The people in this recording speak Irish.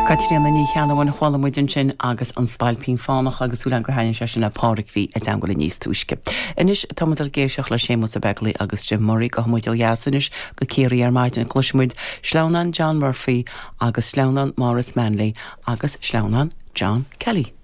Caitríona Ní Cheannabháin a chuala muid ansin agus An Spailpín Fánach agus súil agam gur thaithin sé sin le Pádraig a bhí i dteangmháil linn níos túisce. Anois tá muid ag éisteacht le Séamus Ó Beaglaoi agus Jim Murray. Gabhfaidh muid ó dheas anois go Ciarraí ar maidin. Cloisfidh muid sleamhnán John Murphy agus sleamhnán Maurice Manley agus sleamhnán John Kelly.